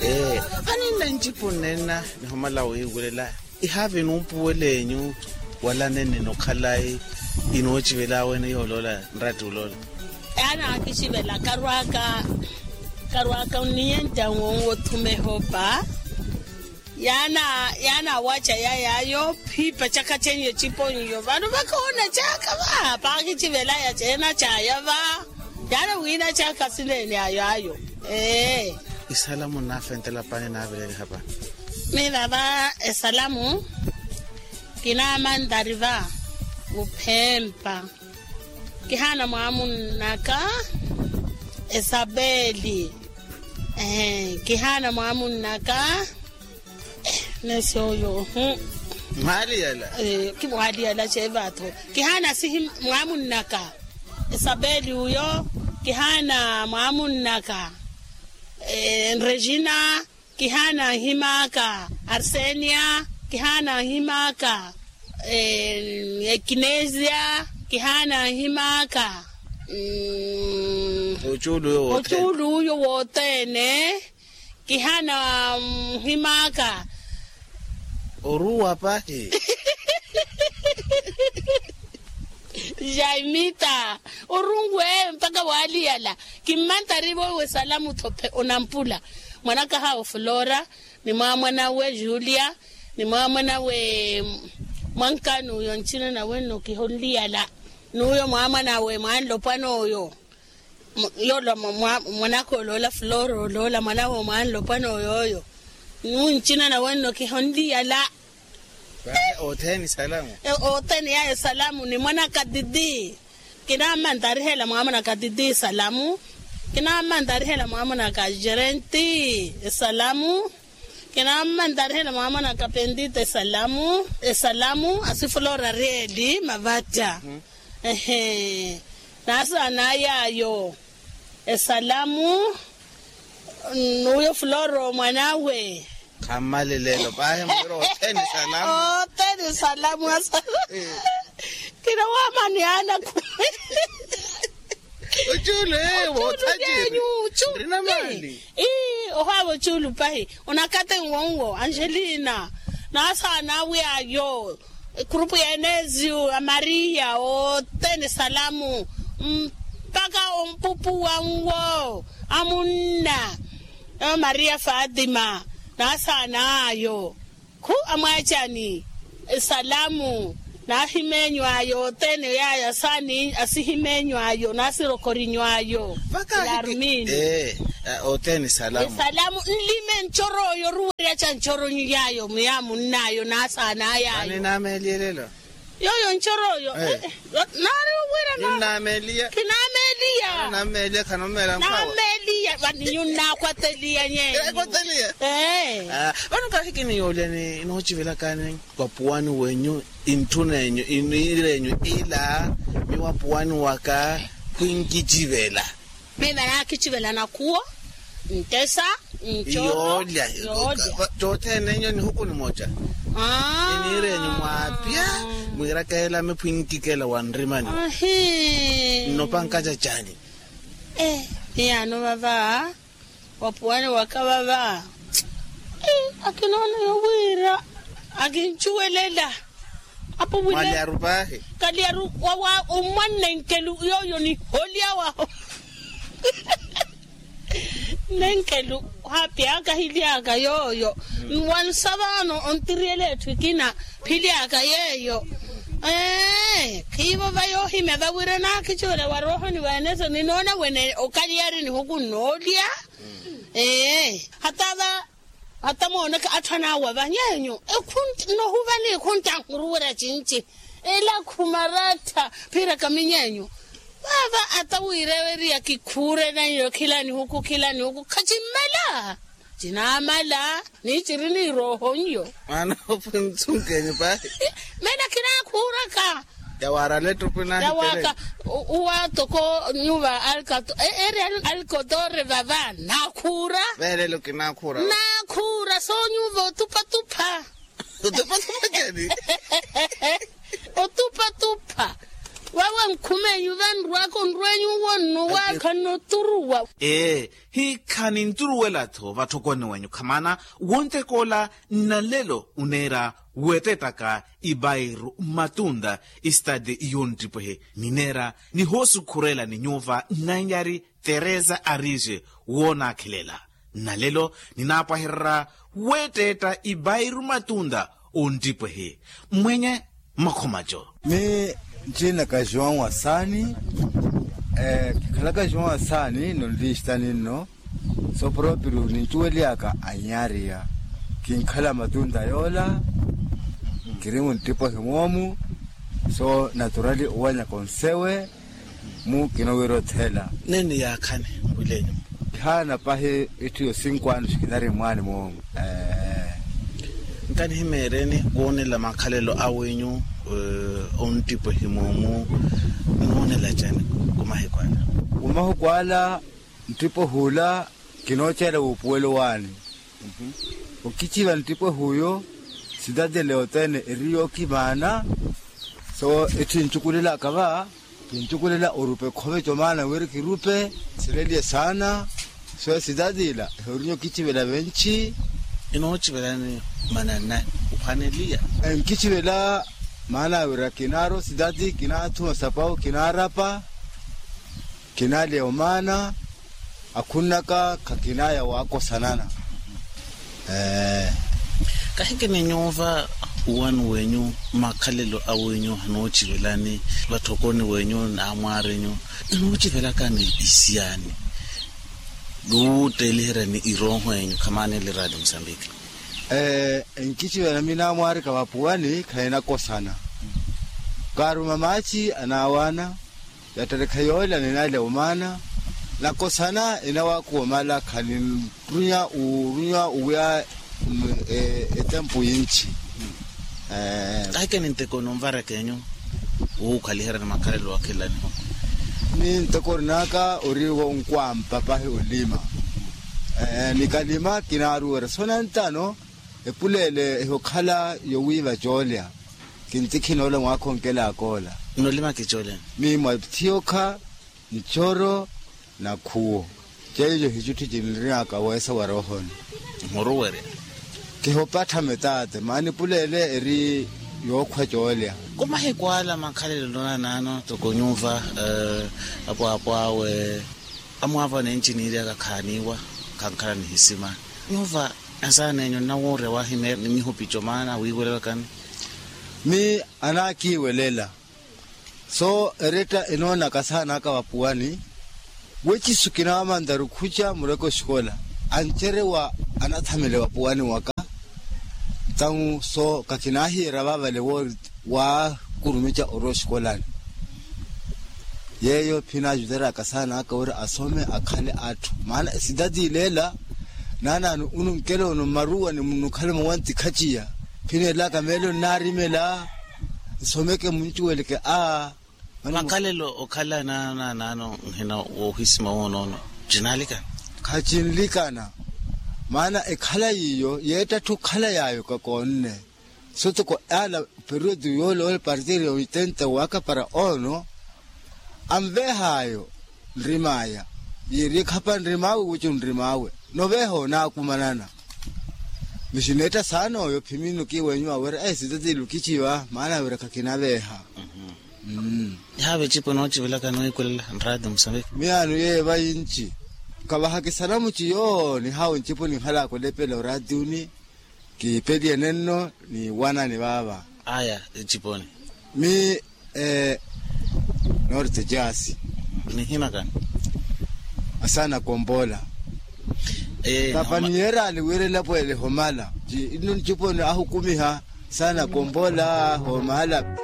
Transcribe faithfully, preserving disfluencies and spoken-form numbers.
Ee, aninna ncipu nnenna nihomala wiiwulela. Ihaavi numpuwel'enyu wala nennina okhalayi inoocivela wene yooloola nratti oloola. Yaana akicivela karwaaka karwaaka onniyenta nwowo othuma ehopa. Yaana yaana awaca yay'ayo phiipa caka cenyu eciponyo vano vakoona caka va paakicivelaya ceena caya va. Yaana wiina caka sineene ayo ayo. Ee. Esalamu nnaafentela paani naavireliha va. Miiva va esalamu kinaamantari va vuphempa. Kihaana mwaamunnaka esapeli. Kihaana mwaamunnaka. Neesi oyo. Mwaaliyala. Kimwaaliyala ceevatho. Kihaana sihi mwaamunnaka esapeli uyo. Kihaana mwaamunnaka regina. Kihaana nhim'aka arsenia. Kihaana nhim'aka ekinesia. Kihaana nhim'aka ocuulu uyo wothene. Kihaana nhim'aka oruwa pahi. Jaimita orungu eyo mpakha waaliyala. Kimmantari vowe salamu thophe onampula. Mwanakahawe flora ni mwaamwanawe julia ni mwaamwanawe mwankani uyo ncina nawe nno kihonliyala. N'uyo mwaamwanawe mwanlopwana oyo. Yoola mwanaka oloola flora oloola mwanawe omwanlopwana oyooyo. N'uncina nawe nno kihonliyala. Othene yayo esalamu ni mwanaka titi. Kinaammantarihela mwaamwanaka titi esalamu. Kinaammantarihela mwaamwanaka jerenti esalamu. Kinaammantarihela mwaamwanaka pentita esalamu. Esalamu asi flora reeli mavatta. Ehe. Naasaana yaayo esalamu n'uyo flora omwanawe. Khammalelelo pahi mwira othene salamu. Othene salamu asa. Kina waamani ana kumi. Ocuulu ewo othaciri. Nrina mali. Ii ohaava ocuulu pahi. Onakate nwo nwo angelina. Naasaana awe ayo. Ekhurupu ya enesio ya maria othene salamu. Mpakha ompupuwa nwo amunna. Maria fatima naasaana ayo. Khu amwaacani esalamu. Naahimeenyu ayo othene yaayo asaani asihimeenyu ayo naasirokhorinyu ayo. Yarumini. Othene esalamu. Esalamu nlime ncoro oyo oruwerya ca ncoronyu yaayo muya munn'ayo naasaana yaayo. Yooyo ncoro oyo. Naari owira naari kinaameliya. Naameliya vani nyunnaakwateliya nyeenyu. Vano kahi kiniyoolya ni noochivelakani vapuwani wenyu intthunenyu iniirenyu ila miwapuwani waka khwinkichivela. Miva naakichivela nakhuwo ntesa ncoolya. Cothene enyo nihuku nimoca. Iniirenyu mwaapya mwiirakeela miphwinkikela wa nrimani. Nnopa nkacacani. Miyaano vava wapuwani waka vava. Akinoona yowiira akincuwelela. Apo wile kalyaru pahi. Kalyaru wawa omwannenkelu yooyo niholya waho. Nenkelu hapyaka hilyaka yooyo. Wansa vano ontiriyela etthu ekina philyaka yeeyo. Ee khiivo vayoohimya vawira naakicuwela wa roohoni wa eneso ninoona wene okalyari nihuku nnoolya. Ee hata va hata moonaka atthu anaawa va nyeenyu. Nohuva nikhuntta nhuruwerya cinci ela khumarattha. Phiiraka minyeenyu vava ata wiirewerya kikhuure naiyo khila nihuku khila nihuku khacimmela. Cinaamala ni ciri ni rooho nyo. Mwaana opwe nsunkenyu pahi. Mena kinaakhuuraka. Yawaarala ettopwe naahikele. Uwa toko nyuva alkatore vava naakhuura. Veerelo kinaakhuura. Naakhuura soonyuva otupatupha. Otupatupha cani? Otupatupha. Wawe nkhumenyu vanrwaka onrwenyu wonno waakhanno turuwa. Ee, hiikhani nturuwela-tho vatthokoni wenyu khamana wontekoola. Nnalelo oneera weetettaka ibairu mmatunta, istati yonttipwehe nineera nihoosukhurela ni nyuuva nnanyari teresa arije. Woonaakhelela nnalelo ninaapwahererya weettetta ibairu mmatunta. Onttipwehe mmwenye mmakhomaco. Mi nttiinaka joão asani. Kikhalaka joão asani nno nlista ninno. So propriu nincuweliyaka anyariya kinkhala matunta yoola. Nkiri munttipo himwoomu. So naturali owanyaka onsewe mu kinowira othela. Neni yaakhani mwilenyu? Kihaana pahi itthu yo cinko anos kinari mwaani moomu. Nkanihimeeryeni woonela makhalelo awenyu. Onttipwehi moomu nimoonela cani? Kumahiku ala. Kumahiku ala nttipwehi ula kinooceela wuupuwelo waani. Okiciva nttipwehi uyo sitatile othene eri yookimaana. So etthi ncukulelaka va kincukulela orupe khove comaana wira kirupe sileliye saana. So sitatila ehorinyo kicivela venci. Inoocivelani mananani? Uphwaneliya. Nkicivela maana wira kinaaro sitati kinaathuma sapau kinaarapa. Kinaaleya omaana akhunnaka khakinaya waakosanana. Kahikini nyuuva uwani wenyu makhalelo awenyu anoocivelani vatthokoni wenyu n'amwaarinyu? Inoocivelakani isiyaani wuutteeliheryani irooho enyu khamaaneli raati musambiki. Nkicivela mi n'amwaarika vapuwani khahinakosana. Kaaruma maaci anaawaana. Yatterekha yoolya ninaale omaana nakosana enawaakuwa omala khaninrunya orunya owiya. Etempu yinci. Kahikeni nteko ninvaraka enyu wuukhaliheryani makhalelo wakhilani? Ni nteko orinaka ori wonkwampa pahi olima. Nikalima kinaaruwerya so nantano epuleele ehokhala yowiiva coolya. Kintikhi noola mwaakhonkelaaka ola. Nolima kicooleni? Miimwa thiyokha ncoro na khuwo. Ceico hicutthu cinirinaaka weesa wa roohoni. Muruwerya. Kihopattha metaate maana epuleele eri yookhwa coolya. Kumahiku ala makhalelo nonanano toko nyuuva apwaapwaawe amwaavo anenci niiryaka khaaniiwa. Khankhala nihisima nyuuva. Asaana enyu nnawoorya wahimeerya ni mihupico maana wiiwelelakani? Mi anaakiiwelela. So eretta enoonaka asaana aka vapuwani wecisu kinaamantaru khuca mureke oxikola ancerewa anathamele vapuwani waka. Tau so kakinaahiyeerya vaavale woori waakurumica orwa oxikolani. Yeeyo phinaajuteryaka saana aka wira asome akhale atthu maana esitati ileela. Naanaani onunkela ono mmaruwani munnukhala muwanti khaciya. Phineelaka meelo nnaarimela nsomeke muncuweleke a. Makhalelo okhala naanaano nhina woohisima woonoono cinaalikana? Khacinlikana. Maana ekhala yiiyo yeettattha okhala yaayo kakoonne. Sotoko ala periodo yoole ole partiri ya oitenta waka para ono anveehaayo nrimaya. Yiiri ekhapa nrimaawe wiico nrimaawe noveeha onaakumanana. Misineetta saana oyo phimino kiiwenyu awira esitatilu kichiva maana awira khakinaveeha. Ihaave ecipo noocivelaka noikulela nraati musaveke miyaano yeeva yinci. Kavahakisana muciyo nihawo ncipo ninhalaka olepela oraatiuni. Kiipeliye nenno ni wanani vaava. Aya eciponi. Mi noorite jaasi. Nihinakani? Asaana kompola. Tapa niyeeraali wira elapweele homala ci inno nciponi ahukumiha. Asaana kompola homala.